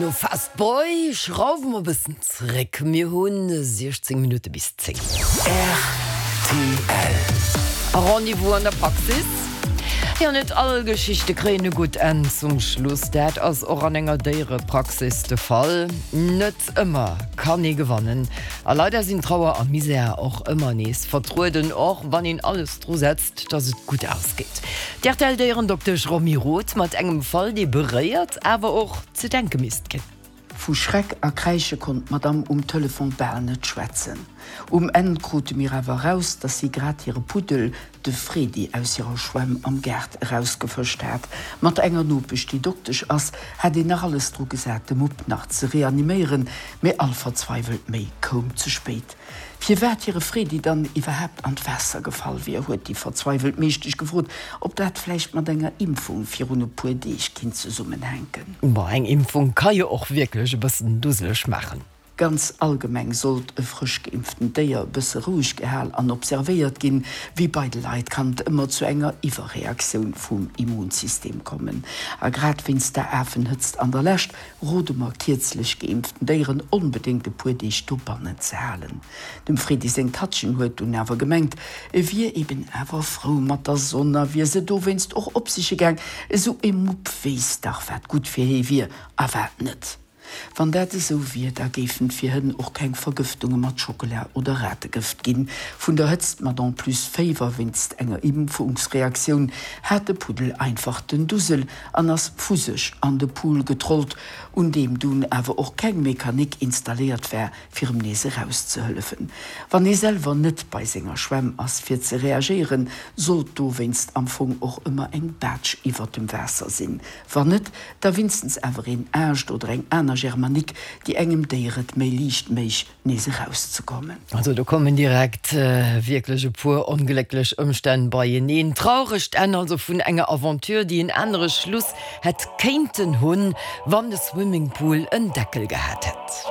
No Fast Boy schrauwe mer e bëssen zréck. Mir hu 16 Minutte bis 10. Rtl. A Rendez-vous an der Praxis. Jo, net all Geschichte kréien e gutt Enn zum Schluss. Dat ass och an enger Déierepraxis de Fall. Net ëmmer kann ee gewannen. A leider sinn Trauer a Misär och ëmmer nees vertrueden, och wann een alles dru setzt, dass et gutt ausgeet. D'RTL-Déierendoktesch Romy Roth mat engem Fall, dee beréiert, awer och ze denke misst ginn. Vu Schreck a Kräische konnt d'Madame um Telefon bal net schwätzen. Um Enn krute mir awer eraus, dass si grad hire Puddel, de Fredi, aus hirer Schwämm am Gaart erausgefëscht hat. Mat enger Nopesch, déi Doktesch ass, hat een nach alles dru gesat, de Mupp nach ze reaniméieren, mee all verzweiwelt Méi koum ze spéit. Firwat hire Fredi dann iwwerhaapt an d'Waasser gefall wier, huet déi verzweiwelt Meeschtesch gefrot, ob dat vläicht mat enger Impfung virun e puer Deeg kinnt zesummenhänken. Bon, eng Impfung ka jo och wierklech e bëssen duseleg maachen. Ganz allgemeng sollt e frësch geimpftent Déier e bësse roueg gehal an observéiert ginn. Wéi bei de Leit kann et ëmmer zu enger Iwwerreaktioun vum Immunsystem kommen. A grad wéinst der Afenhëtzt an der Lescht rode mer kierzlech geimpften Déieren onbedéngt e puer Deeg dobannen ze halen. Dem Fredi seng Tattchen huet dunn awer gemengt, e wier eben awer frou mat der Sonn a wier se dowéinst och opsiche gaang. Esou e Mupp weess dach wat gutt fir hee wier a wat net. Wann dat esou wier, da géifen et fir Hënn och keng Vergëftunge mat Schockela oder Rategëft ginn. Vun der Hëtzt mat en plus Féiwer wéinst enger Impfungsreaktioun hat de Puddel einfach den Dusel an ass vu sech an de Pool getrollt, un deem dunn awer och keng Mechanik installéiert war, fir em nees erauszehëllefen. Wann ee selwer net bei senger Schwämm ass fir ze reagéieren, sollt dowéinst am Fong och ëmmer eng Baatsch iwwert dem Waasser sinn. Wann net, da winstens awer een Aascht oder eng aner Germanik, déi engem Déier et méi liicht méich, nees erauszekommen. Also do kommen direkt wierklech e puer onglécklech Ëmstänn beieneen. Trauregt Enn also vun enger Aventure, déi en anere Schluss hätt kéinten hunn, wann de Swimmingpool en Deckel gehat hätt.